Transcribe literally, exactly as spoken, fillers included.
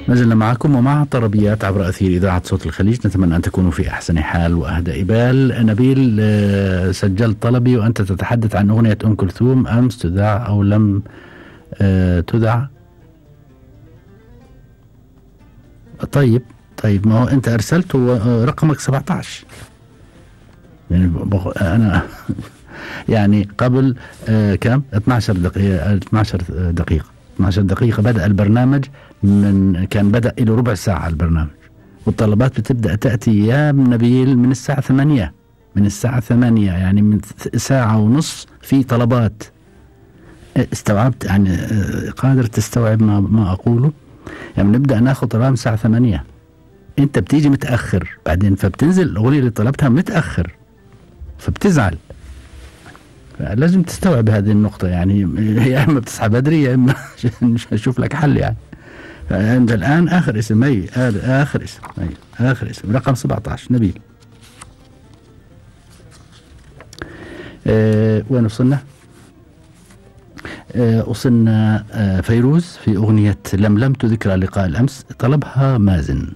ما زلنا معكم ومع طربيات عبر أثير إذاعة صوت الخليج. نتمنى أن تكونوا في أحسن حال وأهدى بال. نبيل، سجلت طلبي وأنت تتحدث عن أغنية أم كلثوم أمس تذاع أو لم تذاع. طيب طيب ما هو أنت أرسلت رقمك سبعة عشر، يعني أنا يعني قبل كم اثنتي عشرة دقيقة اثنتي عشرة دقيقة اثنتي عشرة دقيقة بدأ البرنامج، من كان بدأ له ربع ساعة البرنامج، والطلبات بتبدأ تأتي يا نبيل من الساعة ثمانية من الساعة ثمانية يعني من ساعة ونص في طلبات. استوعبت يعني؟ قادر تستوعب ما, ما أقوله؟ يعني نبدأ ناخذ طلبات من الساعة ثمانية، أنت بتيجي متأخر بعدين، فبتنزل الأغنية اللي طلبتها متأخر فبتزعل. لازم تستوعب هذه النقطة، يعني يا إما بتصحى بدري يا إما أشوف لك حل. يعني أنت الآن آخر اسم أي آخر اسم أي آخر اسم رقم سبعة عشر نبيل. أه وين وصلنا؟ أه وصلنا أه فيروز في أغنية لملمت ذكرى لقاء الأمس، طلبها مازن.